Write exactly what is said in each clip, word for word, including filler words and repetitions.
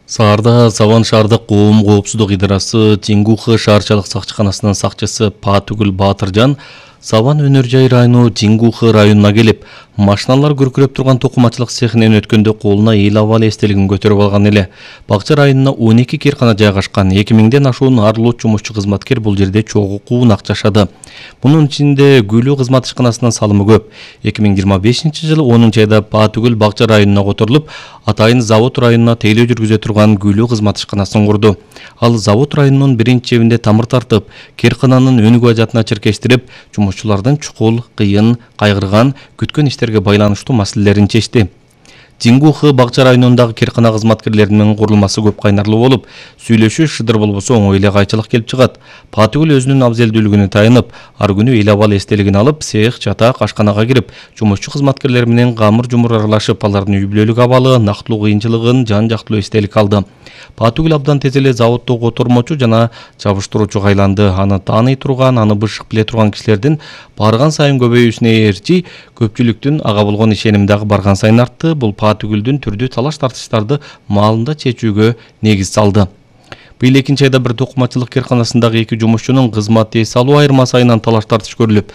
Саарда Саван шаардык коом коопсуздук идарасы Тингухы шаарчалык сакчыканасынын сакчысы Паатүгүл Баатыржан Саван өнөр жай району Тингухы районуна келип, машиналар күркүрөп турган токумачылык цехинен өткөндө колуна эл абал эстелигин көтөрүп алган эле. Бакча районуна он эки киркана жайгашкан, эки миңден ашуун арлуу жумушчу кызматкер бул жерде чогуу куунак жашады. Мунун ичинде Гүлүү кызмат ишканасынын салымы көп. эки миң жыйырма бешинчи жылы онунчу айда Паатүгүл Бакча районуна которулуп, атайын завод районуна тейлөө жүргүзө турган Гүлүү кызмат ишканасын курду. Ал завод районунун биринчи жебинде тамыр тартып, киркананын өнүгүү ажатына чиркештирип, жумушчулардын чукул, кыйын, кайгырган, күткөн иштерге байланыштуу маселелерин чечти. Тингухы Бакча районундагы киркана кызматкерлеринин курулмасы көп кайнарлуу болуп, сүйлөшүү шыдыр болбосо оңой эле кайчылык келип чыгат. Паатүгүл өзүнүн абзелдүүлүгүнө таянып, ар күнү эл абал эстелигин алып, цех, чатак, ашканага кирип, жумушчу кызматкерлер менен камыр-жумур аралашып, алардын үй бүлөлүк абалы, нактылуу кыйынчылыгын жан-жактылуу эстелик алды. Паатүгүл абдан тез эле заводдо котормочу жана жабыштыруучуга айланды. Аны тааный турган, аны бышык биле турган кишилердин барган сайын көбөйүүсүнө ээрчи, көпчүлүктүн ага болгон ишеними дагы барган сайын артты. Бул Паатүгүлдүн түрдүү талаш тартыштарды маалында чечүүгө негиз салды. Быйыл экинчи айда бир токумачылык кирканасындагы эки жумушчунун кызмат эс алуу айырмасы айынан талаш тартыш көрүлүп,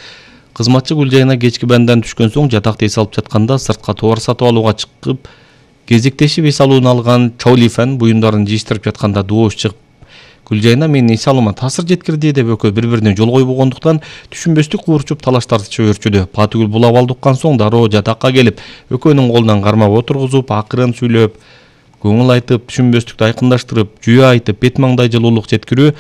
кызматчы гүл жайына кечки бандан түшкөн соң жатакты эс алып жатканда сыртка товар сатып алууга чыгып, кезиктешип эс алууну алган Чаулифан буюмдарын жыйыштырып жатканда доош чыгып, гүл жайына менин эс алуума таасир жеткирди деп экөө бири-бирине жол койбогондуктан түшүнбөстүк куурчуп талаш тартышы өрчүдү. Паатүгүл бул абалды уккан соң дароо жатакка келип, экөөнүн колунан кармап отургузуп, акырын сүйлөп, көңүл айтып, түшүнбөстүктү айкындаштырып, жүйө айтып, бет маңдай жылуулук жеткирүү,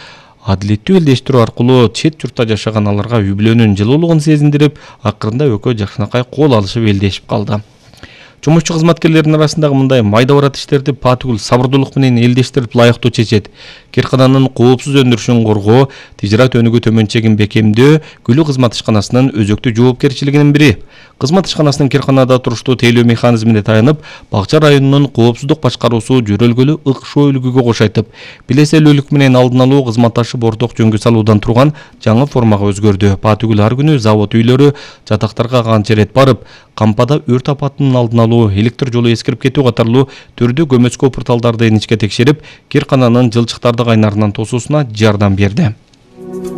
адилеттүү элдештирүү аркылуу чет журтта жашаган аларга үй бүлөнүн жылуулугун сезиндирип, акырында экөө жакшынакай кол алышып элдешип калды. Жумушчу кызматкерлердин арасындагы мындай майда барат иштерди Паатүгүл сабырдуулук менен элдештирип лайыктуу чечет. Киркананын коопсуз өндүрүшүн коргоо, тижират өнүгүү төмөнчөгүн бекемдөө Гүлүү кызмат ишканасынын өзөктүү жоопкерчилигинин бири. Кызмат ишканасынын кирканада туруштуу тейлөө механизмине таянып, Бакча районунун коопсуздук башкаруусу жөрөлгөлүү ыкшоо үлгүгө кош айтып, билеселүүлүк менен алдын алуу кызматташып орток жөнгө салуудан турган жаңы формага өзгөрдү. Паатүгүл ар күнү завод үйлөрү, жатактарга канча ирет барып, кампада өрт апатынын алдын алуу, электр жолу эскирип кетүү катарлуу түрдүү көмөчкө порталдарды иничке текшерип, киркананын жылчыктарды кайнарынан тосуусуна жардам берди.